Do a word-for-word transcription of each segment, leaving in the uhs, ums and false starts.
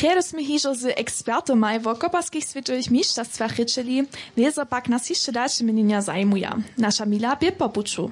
Prjedy smy hižo z ekspertomaj wo koparskich swětowych mišćerstwach rěčeli, wězo pak nas hišće dalše měnjenja zajimuja. Naša mila bě po puću.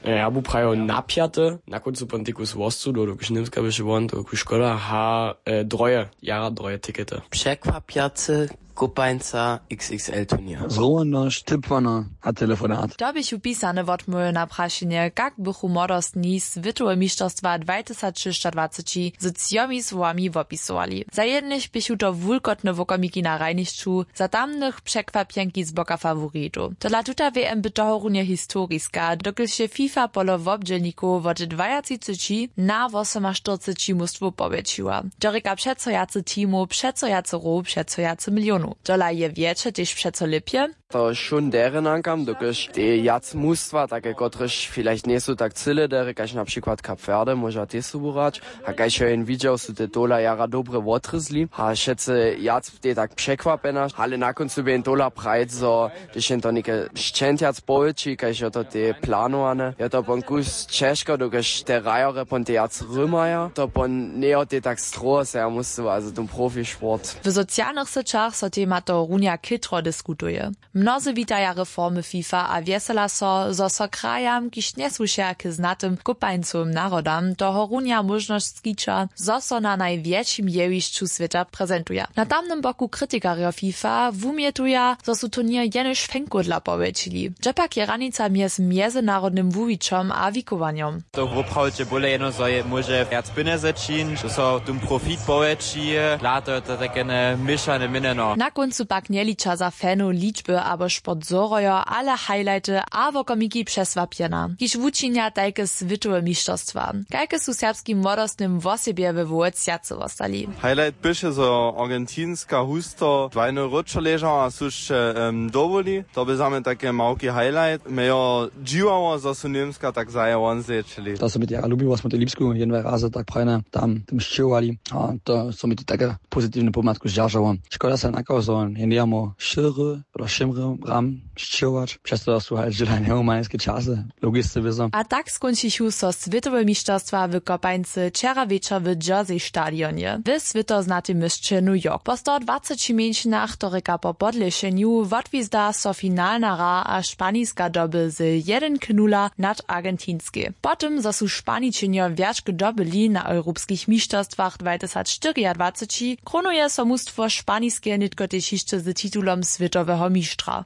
Ja bu prajo napjaty, na kóncu pontikus wostu do dokelž němska běše won to ku škoda ha, e, droje, jara droje tikety. Překwapjacy, kopańca, xxl turnier. Zrownosć, typłana a telefonat. To běchu pisane wotmołwy na prašenje, kak bychu młodostni swětowe mišćerstwa dwatysacšěsćadwaceći z třomi słowami wopisowali. Za jednych běchu to wulkotne wokomiki na hrajnišću, za tamnych překwapjenki z boka faworitow. Tola tuta wm by tohorunje historiska, dokelž je fifa polo wobdźělnikow wot dwajatřiceći na wosomaštyrceći móstwow powjetšiła. To rěka přeco wjace teamow, přeco wjace row, přeco wjace milionow. Tola je wjetše tež přeco lěpje. To šón derje nankam, dokelž te wjac mustwa take kotrež vielleicht njejsu tak cyle derje kaž na přikład kap verde móža tež sobu hrać. A kaž jo jen widźał su te tola jara dobre wotrězli a wšetcy wjac, te tak překwapjena ale na kóncu bě jen tola prajc zo, hdyž jen to něke šćentjac powětši kaž jo to te planowane jo to pon kus ćežko dokelž te hrajerje pon te wjac rymaja to pon njejo te tak stroho se ja muscyła za ten profisport. W socialnych syćach so tema to runja chětro diskutuje. Mnozy witaja reformy fifa a wjesela so, zo so krajam kiž njesłušeja k znatym kopańcowym narodam tohorunja móžnosć skića, zo so na najwjetšim jewišću swěta prezentuja. Na tamnym boku kritikarjo fifa wumjetuja, zo su turněr jenož fenkódla powjetšili. Dźe pak je hranica mjez mjezynarodnym wuwićom a wikowanjom? To woprawdźe bóle jeno zo je móže wjac pjenjezy čiń zo so tón profit powjetši. Dla to je to takene měšane měnjeno. Na kóncu pak njeliča za fanow ličby abo sport zhorojo ale highlighty a wokomiki přesłapjena kiž wučinja tajke swětowe mišćerstwa. Kajke su serbskim młodostnym wosebje we wołec wjace wostali? Highlight běše zo argentinska husto dwajny rydšo ležała a sušće dowoli. To bě za mnje take małki highlight mje jo dźiwało zo su němska tak zaje won zječili. To so mi tera lubiło smo te lipsku jedne razy tak prajne tam tym sćěhowali. A to so mi to take pozitiwne pomłatku zdźeržało. Škoda se nakazo je njejamo šěry pola šěmry ram sćěhować přez to su hač dźěla njehumanske časy. Logisce wězo. A tak skónčichu so swětowe mišćerstwa w kopańcy wčera wječor w jersey stadionje w swětoznatej měsće new york po sto dwaceći mjeńšinach to rěka po podlěšenju wotwizda so finalna hra a španiska doby z jedyn k nula nad argentinskej. Po tym zo su španičenjo wjačk dobyli na europskich mišćerstwach dwatysacštyriadwaceći kronuje so mustwo španiske nětko tež hišće z titulom swětoweho mištra.